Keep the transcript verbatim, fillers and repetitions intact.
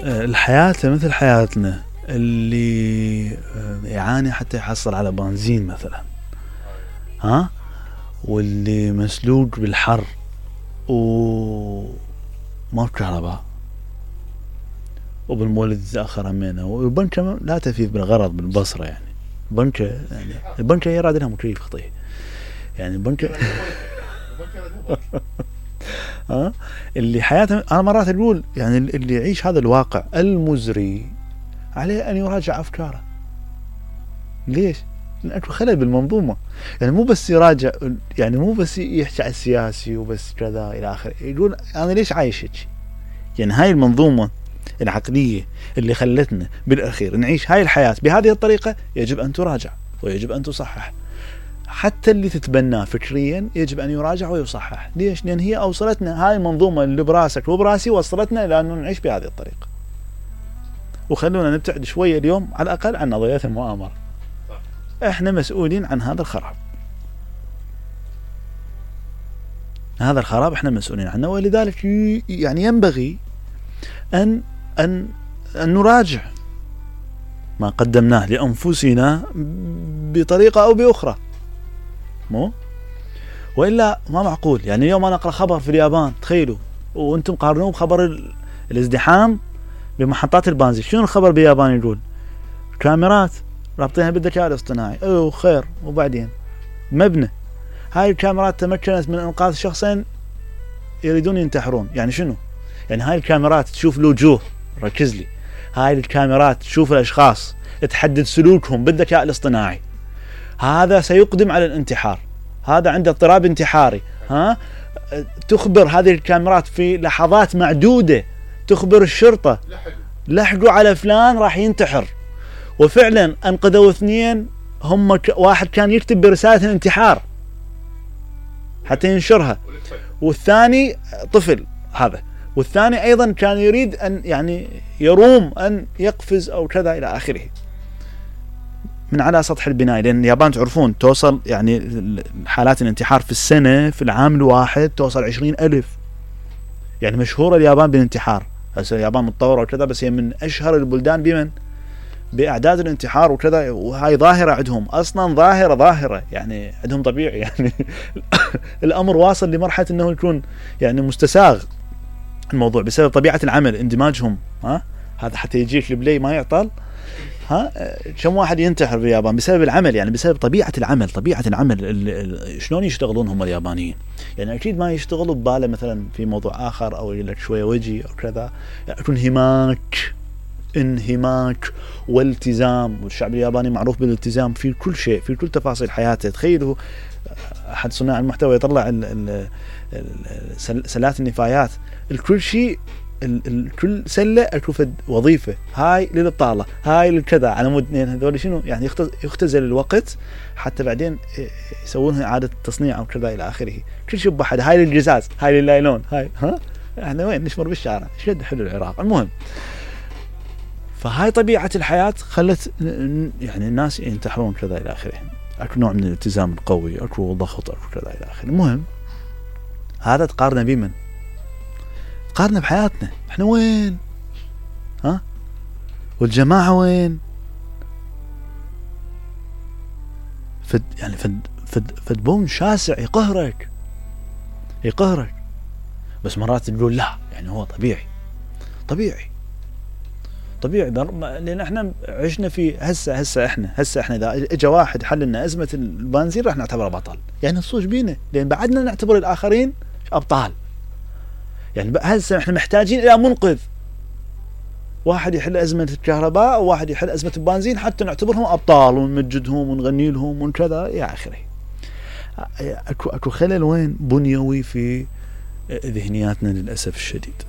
الحياة مثل حياتنا، اللي يعاني حتى يحصل على بنزين مثلا، ها، واللي مسلوق بالحر وما كهرباء، وبالمولد تأخر همينه، والبنكة لا تفيد بالغرض بالبصرة. يعني البنكة يعني البنكة يراد لها مكيف خطيه، يعني البنكة ها اللي حياته. أنا مرات أقول يعني اللي يعيش هذا الواقع المزري عليه أن يراجع أفكاره. ليش؟ لأن أكو خلل بالمنظومة. يعني مو بس يراجع، يعني مو بس يحكي على السياسي وبس كذا إلى آخره، يقول أنا ليش عايش هيك؟ يعني هاي المنظومة العقلية اللي خلتنا بالأخير نعيش هاي الحياة بهذه الطريقة يجب أن تراجع ويجب أن تصحح. حتى اللي تتبناه فكريا يجب أن يراجع ويصحح. ليش؟ لأن هي أوصلتنا، هاي المنظومة اللي براسك وبراسي وصلتنا إلى أنه نعيش بهذه الطريقة. وخلونا نبتعد شوية اليوم على الأقل عن نظريات المؤامرة. احنا مسؤولين عن هذا الخراب، هذا الخراب احنا مسؤولين عنه، ولذلك يعني ينبغي أن أن أن نراجع ما قدمناه لأنفسنا بطريقة أو بأخرى، مو وإلا ما معقول. يعني اليوم أنا أقرأ خبر في اليابان، تخيلوا، وأنتم قارنوه بخبر الازدحام بمحطات البنزين. شنو الخبر باليابان يقول؟ كاميرات رابطينها بالذكاء الاصطناعي، أيوه خير، وبعدين مبنى هاي الكاميرات تمكنت من إنقاذ شخصين يريدون ينتحرون. يعني شنو؟ يعني هاي الكاميرات تشوف الوجوه، ركز لي، هاي الكاميرات تشوف الأشخاص، تحدد سلوكهم بالذكاء الاصطناعي. هذا سيقدم على الانتحار، هذا عنده اضطراب انتحاري، ها، تخبر هذه الكاميرات في لحظات معدودة، تخبر الشرطة لحقوا على فلان راح ينتحر. وفعلا أنقذوا اثنين، هم ك... واحد كان يكتب برسالة الانتحار حتى ينشرها، والثاني طفل هذا، والثاني أيضا كان يريد أن يعني يروم أن يقفز أو كذا إلى آخره من على سطح البناية. لأن اليابان تعرفون توصل يعني حالات الانتحار في السنة في العام الواحد توصل عشرين ألف. يعني مشهورة اليابان بالانتحار. هسه اليابان متطورة وكذا، بس هي من أشهر البلدان بمن بأعداد الانتحار وكذا. وهاي ظاهرة عندهم أصلا، ظاهرة ظاهرة يعني عندهم طبيعي. يعني الأمر واصل لمرحلة أنه يكون يعني مستساغ الموضوع بسبب طبيعة العمل، اندماجهم. ها هذا حتى يجيك البلاي ما يعطل. ها كم واحد ينتحر باليابان بسبب العمل، يعني بسبب طبيعة العمل. طبيعة العمل شلون يشتغلون هم اليابانيين؟ يعني أكيد ما يشتغلوا بباله مثلا في موضوع آخر أو لك شوية وجي أو كذا، يعني يكون انهماك انهماك والتزام. والشعب الياباني معروف بالالتزام في كل شيء، في كل تفاصيل حياته. تخيلوا أحد صناع المحتوى يطلع ال ال ال سلات النفايات، الكل شيء، الكل سلة أكو فد وظيفة، هاي للطالة، هاي للكذا، على مود اثنين هذول شنو يعني يختزل الوقت حتى بعدين يسوونها إعادة تصنيع أو كذا إلى آخره. كل شيء بحد، هاي للجزاز، هاي لللايلون، هاي ها احنا وين نشمر بالشارع، شد حلو العراق. المهم، فهاي طبيعة الحياة خلت يعني الناس ينتحرون كذا إلى آخره. أكو نوع من الالتزام القوي، أكو ضغط، أكو كذا إلى آخره. المهم، هذا تقارن بمن؟ تقارن بحياتنا احنا وين؟ ها؟ والجماعة وين؟ فد يعني فد فد فد بون شاسع يقهرك يقهرك بس مرات تقول لا، يعني هو طبيعي طبيعي طبيعي لأن احنا عشنا في هسه هسه احنا هسه احنا اذا اجى واحد حل لنا ازمة البنزين راح نعتبره بطل. يعني نصوص بينا، لان بعدنا نعتبر الاخرين ابطال. يعني هسه احنا محتاجين الى منقذ، واحد يحل ازمة الكهرباء وواحد يحل ازمة البنزين حتى نعتبرهم ابطال ونمجدهم ونغني لهم وكذا الى اخره. اكو اكو خلل وين بنيوي في ذهنياتنا للاسف الشديد.